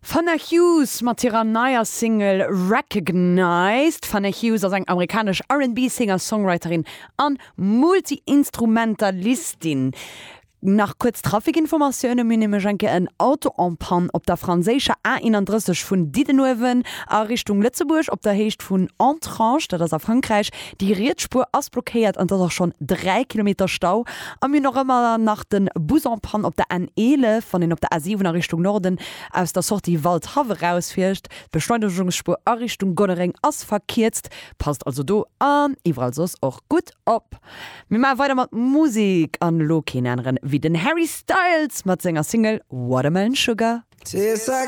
D'Fana Hughes mat hirer neier Single Recognized. D'Fana Hughes ass eng amerikanesch R&B-Singer-Songwriterin an Multi-Instrumentalistin. Nach kuerz Trafikinformatioune, Mir hunn nämlech eng Kéier en Auto en panne op der franséischer A31 vun Diddenuewen a Richtung Lëtzebuerg op der Héicht vun Entrange, dat ass a Frankräich. Déi riets Spuer ass blockéiert an et ass och schonn 3 Kilometer Stau. A mir hunn och ëmmer nach de Bus en panne op der N11, wann een op der A7 a Richtung Norden aus der Sortie Waldhaff erausfiert. D'Beschleunegungsspuer a Richtung Gonnereng ass verkierzt. Passt also do an iwwerall soss och gutt op. Mir maache weider mat Musek an elo keen aneren wéi den Harry Styles mat senger Single Watermelon Sugar.